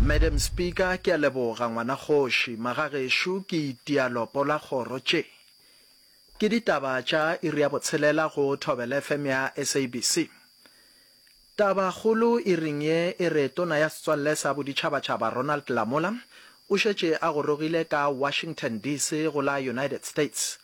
Madam Speaker, ke a leboga ngwana kgoši. Magagešo ke itia lopo la kgoro tše. Ke ditaba tša iri ya botshelela go Thobela FM ya SABC. Tabakgolo iring ye e re Tona ya Setswalle sa Boditšhabatšhaba Ronald Lamola o šetše a gorogile ka Washington DC go la United States.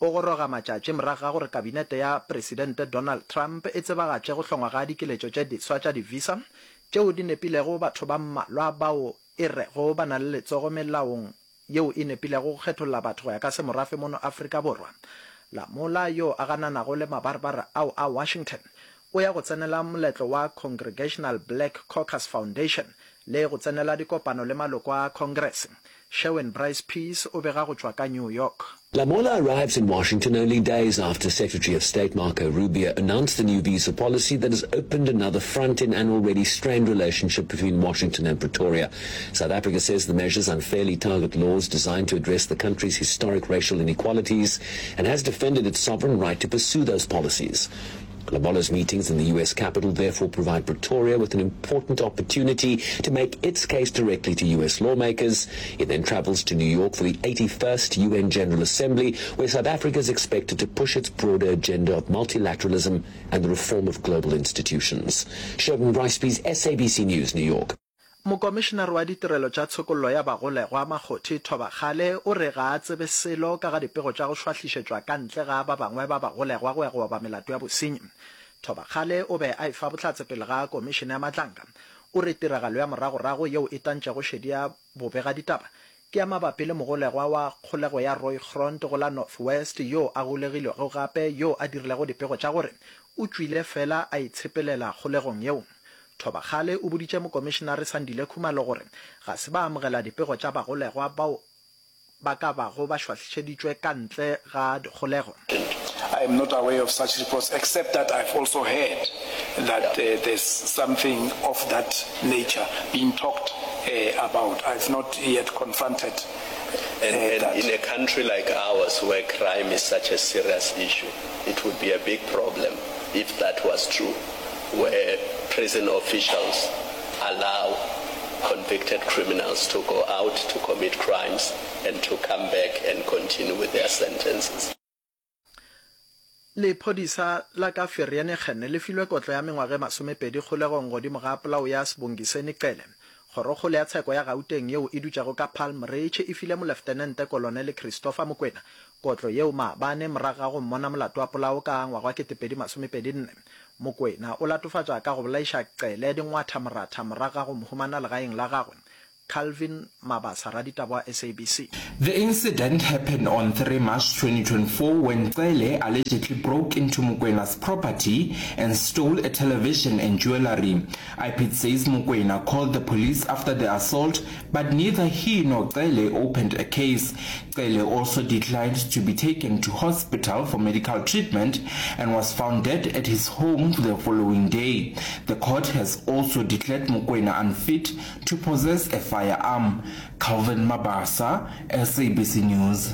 O goroga matšatši morago ga gore kabinete ya Presidente Donald Trump e tsebagatše go hlongwa ga dikeletšo tše diswa tša di-visa tšeo di nepilego batho ba mmalwa bao e rego ba na le letsogo melaong yeo e nepilego go kgetholla batho go ya ka semorafe mono Afrika Borwa. Lamola, yo a gananago le mabarebare ao a Washington, o ya go tsenela moletlo wa Congregational Black Caucus Foundation le go tsenela dikopano le maloko a Congress. Sherwin Bryce-Pease o bega go tšwa ka New York. Lamola arrives in Washington only days after Secretary of State Marco Rubio announced the new visa policy that has opened another front in an already strained relationship between Washington and Pretoria. South Africa says the measures unfairly target laws designed to address the country's historic racial inequalities and has defended its sovereign right to pursue those policies. Lamola's meetings in the U.S. capital therefore provide Pretoria with an important opportunity to make its case directly to U.S. lawmakers. It then travels to New York for the 81st UN General Assembly, where South Africa is expected to push its broader agenda of multilateralism and the reform of global institutions. Sherwin Bryce-Pease, SABC News, New York. Mokomišenare wa Ditirelo tša Tshokollo ya Bagolegwa, Makgothi Thobakgale, o re ga a tsebe selo ka ga dipego tša go šwahlišetšwa ka ntle ga ba bangwe ba bagolegwa go ya go oba melato ya bosenyi. Thobakgale o be a efa bohlatse pele ga Komišene ya Matlanka. O re tiragalo ya moragorago yeo e tantšego šedi ya bobegaditaba ke ya mabapi le mogolegwa wa kgolego ya Rooigrond go la North West yo a golegilwego gape yo a dirilego dipego tša gore o tšwile fela a itshepelela kgolegong yeo. Thobakgale o boditše Mokomišenare Sandile Khumalo gore ga se ba amogela dipego tša bagolegwa bao ba ka bago ba šwahlišeditšwe ka ntle ga dikgolego. I am not aware of such reports except that I've also heard that there's something of that nature being talked about. I've not yet confronted And, that. and in a country like ours where crime is such a serious issue, it would be a big problem if that was true, where prison officials allow convicted criminals to go out to commit crimes and to come back and continue with their sentences. Lephodisa la ka Vereeniging le filwe kotlo ya mengwaga e masomepedi kgolegong godimo ga polao ya Sibongiseni Cele. Kgorokgolo ya tsheko ya Gauteng yeo e dutšego ka Palm Ridge e file Moleftenente Kolonele Christopher Mokwena kotlo yeo maabane morago ga go mmona molato wa polao ka ngwaga wa 2024. Mokwena o latofatšwa ka go bolaiša Cele dingwatha moratha morago ga go mo humana legaeng la gagwe. Calvin Mabasa, raditaba wa SABC. The incident happened on 3 March 2024 when Cele allegedly broke into Mokwena's property and stole a television and jewellery. IPID says Mokwena called the police after the assault but neither he nor Cele opened a case. Cele also declined to be taken to hospital for medical treatment and was found dead at his home the following day. The court has also declared Mokwena unfit to possess a firearm. Calvin Mabasa, SABC News.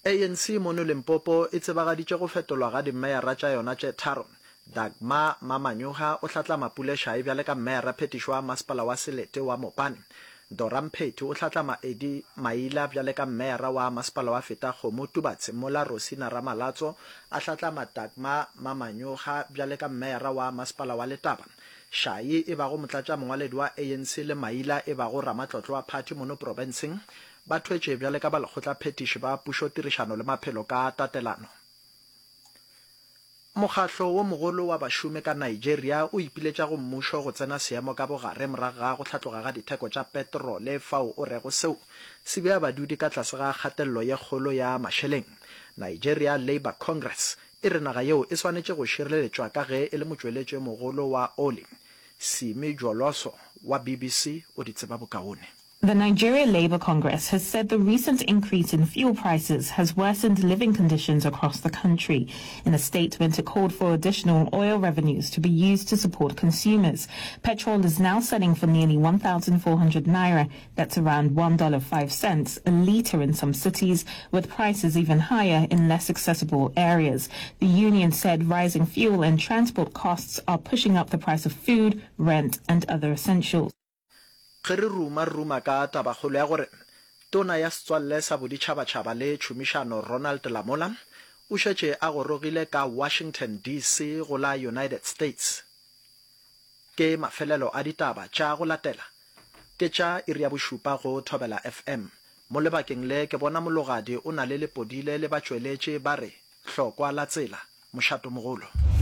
ANC mono Limpopo e tsebagaditše go fetolwa ga dimmeyara tša yona tše tharo. Dagmar Mamanyoha o hlatlama Pule Shayi bjale ka mmeyara phetišo wa masepala wa selete wa Mopani. Dora Mphethi o hlatlama Eddie Maila bjale ka mmeyara wa masepala wa Fetakgomo Tubatse mola Rosina Ramalatso a hlatlama Dagmar Mamanyoha bjale ka mmeyara wa masepala wa Letaba. Shayi e bago motlatšamongwaledi wa ANC le Maila e bago ramatlotlo wa phathi mono profenseng ba thwetše bjale ka balekgotlaphethiši ba pušotirišano le maphelo ka tatelano. Mokgahlo wo mogolo wa bašomi ka Nigeria o ipiletša go mmušo go tsena seemo ka bogare morago ga go hlatloga ga ditheko tša petrole fao o rego seo se bea badudi ka tlase ga kgatelelo ye kgolo ya mašeleng. Nigeria Labour Congress e re naga yeo e swanetše go šireletšwa ka ge e le motšweletši yo mogolo wa oli. Simi Joloso wa BBC o di tseba bokaone. The Nigeria Labour Congress has said the recent increase in fuel prices has worsened living conditions across the country. In a statement, it called for additional oil revenues to be used to support consumers. Petrol is now selling for nearly 1,400 naira, that's around $1.05 a litre in some cities, with prices even higher in less accessible areas. The union said rising fuel and transport costs are pushing up the price of food, rent and other essentials. Ge re ruma, re ruma ka tabakgolo ya gore Tona ya Setswalle sa Boditšhabatšhaba le Tšhomišano Ronald Lamola o šetše a gorogile ka Washington, DC. go la United States. Ke mafelelo a ditaba tša go latela ke tša iri ya bošupa go Thobela FM. Mo lebakeng le ke bona Mologadi o na le lepodile le batšweletši ba re hlokwa la tsela, mošatomogolo.